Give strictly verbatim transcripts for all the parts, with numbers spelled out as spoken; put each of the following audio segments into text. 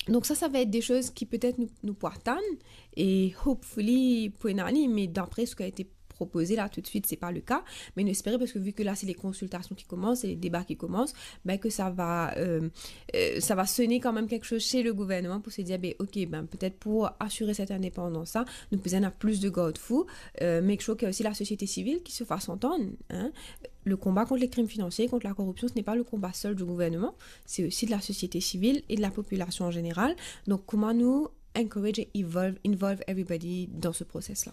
Donc ça, ça va être des choses qui peut-être nous, nous pourrons atteindre et hopefully pour une année, mais d'après ce qui a été proposé là tout de suite, c'est pas le cas. Mais nous espérons, parce que vu que là, c'est les consultations qui commencent, c'est les débats qui commencent, ben, que ça va, euh, euh, ça va sonner quand même quelque chose chez le gouvernement pour se dire, ben, ok, ben, peut-être pour assurer cette indépendance-là, nous besoin plus de garde-fous, euh, make sure qu'il y a aussi la société civile qui se fasse entendre, hein. Le combat contre les crimes financiers, contre la corruption, ce n'est pas le combat seul du gouvernement, c'est aussi de la société civile et de la population en général. Donc, comment nous encourage et involve, involve everybody dans ce process-là?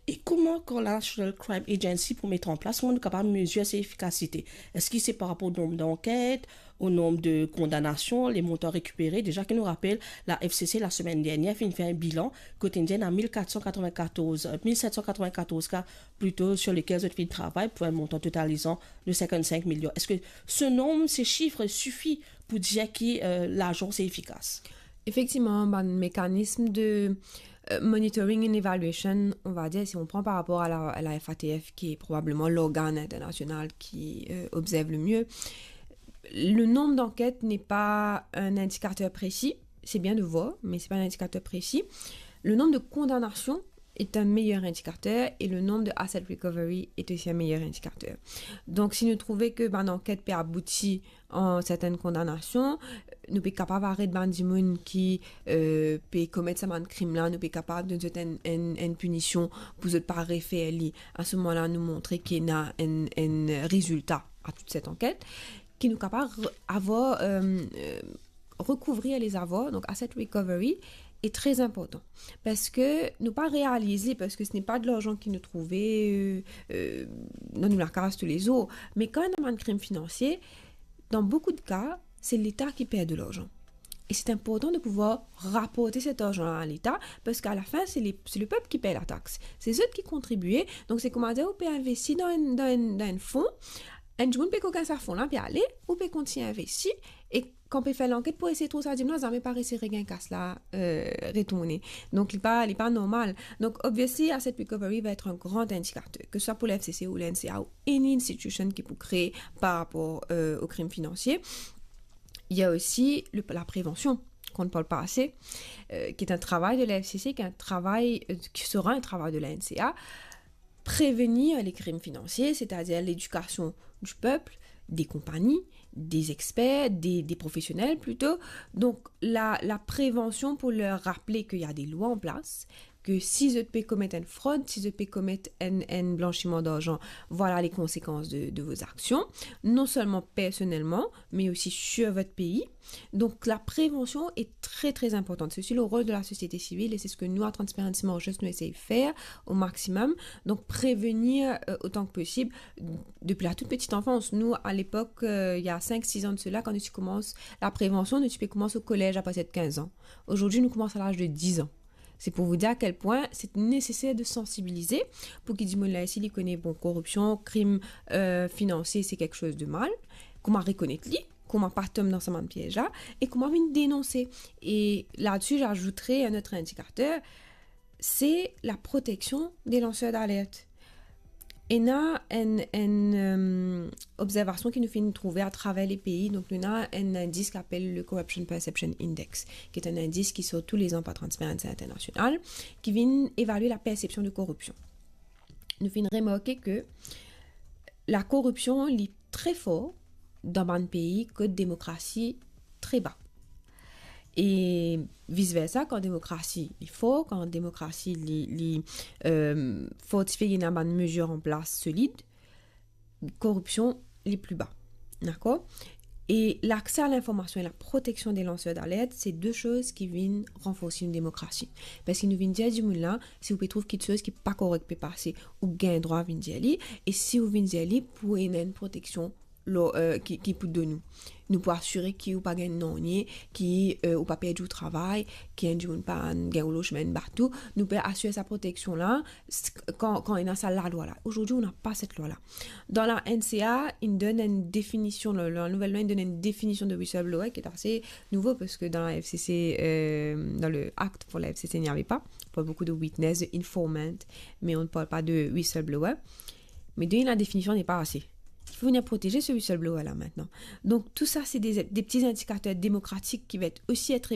E kouma, kan National Crime Agency pou met an plas, kouma nou kapav mezir so efikasite? Eski se par rapor o nonb danket, o nonb de kondanasion, le montan rekipere? Deza ki nou rapel, la F C C, la semenn dernier, finn fer enn bilan, kot inn dir ena mil kat san katrovin-katorz, euh, mil set san katrovin-katorz ka, plito, sur lesquels zot finn travay pou enn montan totalizan de sinkant-sink milion. Eski so nonb, se sif sifi pou dir ki, euh, larzan se efikas? Effectivement, ben, mécanisme de euh, monitoring and evaluation, on va dire, si on prend par rapport à la, à la F A T F, qui est probablement l'organe international qui, euh, observe le mieux, le nombre d'enquêtes n'est pas un indicateur précis. C'est bien de voir, mais c'est pas un indicateur précis. Le nombre de condamnations est un meilleur indicateur et le nombre de asset recovery est aussi un meilleur indicateur. Donc, si nou trouve ke bann anket pe abouti an sertenn kondanasion, nou pe kapav aret bann dimoun ki, euh, pe komet sa bann krim la, nou pe kapav donn zot enn, enn, enn pinision pou zot pa refer li. A se moman la, nou montre ki ena enn, enn rezilta a tout set anket, ki nou kapav re-, avoir, euh, euh, recouvrir les avoirs, donc asset recovery, est très important. Parski nou pa realize li, parski ce n'est pas de l'argent ki nou trouve, euh, euh, dan nou lakaz toulezour. Me kan ena bann krim finansie, dans beaucoup de cas, c'est l'État qui perd de l'argent. Et c'est important de pouvoir rapporter cet argent-là à l'État, parce qu'à la fin, c'est les, c'est le peuple qui paye la taxe. Se zot ki kontribie. Donc, c'est kouma dir, ou pe investi dan enn, dan enn, dan enn fon, enn dimoun pe gagn sa fon la, pe ale, ou pe kontign investi, e kan pe fer lanket pou esey trouv sa dimoun la, zame pa resi regagn kas la, euh, retourne. Donc, li pa, li pa normal. Donc, obviously, asset recovery va être un grand indicateur, que ce soit pour la F C C ou la N C A ou any institution ki pou kree par rapport, euh, aux crimes financiers. Il y a aussi le, la prévention, qu'on ne parle pas assez, euh, qui est un travail de la F C C, qui est un travail, euh, qui sera un travail de la N C A. Prévenir les crimes financiers, c'est-à-dire l'éducation du peuple, des compagnies, des experts, des, des professionnels plutôt. Donc, la, la prévention pour leur rappeler qu'il y a des lois en place, que si zot pe komet enn frod, si zot pe komet enn, enn blanchiman d'argent, voilà les conséquences de, de vos actions, non seulement personnellement, mais aussi sur votre pays. Donc, la prévention est très, très importante. C'est aussi le rôle de la société civile et c'est ce que nous, à Transparency Mauritius, nous essayons de faire au maximum. Donc, prévenir, euh, autant que possible depuis la toute petite enfance. Nous, à l'époque, euh, il y a cinq, six ans de cela, kan nou ti koumans la prévention, nou ti pe koumans au collège à partir de quinze ans. Aujourd'hui, nou koumans à l'âge de dix ans. C'est pour vous dire à quel point c'est nécessaire de sensibiliser pour ki dimoun la isi li kone, bon, koripsion, krim, euh, finansie, c'est quelque chose de mal. Kouma rekonet li, kouma pa tom dan sa bann piez la, e kouma vinn denonse. Et là-dessus, j'ajouterai un autre indicateur, c'est la protection des lanceurs d'alerte. Ena enn, enn, euh, observasion ki nou finn trouve atraver le pei. Donc, nou ena enn indis ki apel le Corruption Perception Index, qui est un indice qui sort tous les ans par Transparency International, qui vient évaluer la perception de corruption. Nou finn remarke ke la koripsion, li tre for dan bann pei kot demokrasi tre ba. E vice versa, kan demokrasi li for, kan demokrasi li, li, euh, fortifie, ena bann mezir an plas solid, koripsion li pli ba. Dakor? E l'accès à l'information et la protection des lanceurs d'alerte, se de soz ki vinn ranforsi enn demokrasi. Parski nou vinn dir dimoun la, si ou pe trouv kiksoz ki pa korek pe pase, ou gagn drwa vinn dir li, e si ou vinn dir li, pou ena enn proteksion lor, euh, ki, ki pou donn ou. Nou pou asire ki ou pa gagn nanye, ki, euh, ou pa perdi ou travay, ki enn dimoun pa gagn ou losman, bat ou. Nou pe asire sa proteksion la, s-, kan, kan ena sa lalwa la. Aujourd'hui, on n'a pas cette loi-là. Dan la N C A, inn donn enn definision, la, la nouvelle loi inn donn enn definision de whistleblower qui est assez nouveau parce que dans la F C C, euh, dans le acte pour la F C C, il n'y avait pas. On parle beaucoup de witness, de informant, mais on ne parle pas de whistleblower. Mais donner la définition n'est pas assez. Il faut venir protéger ce whistleblower-là maintenant. Donc tout ça, c'est des, des petits indicateurs démocratiques qui vont être aussi être évalués.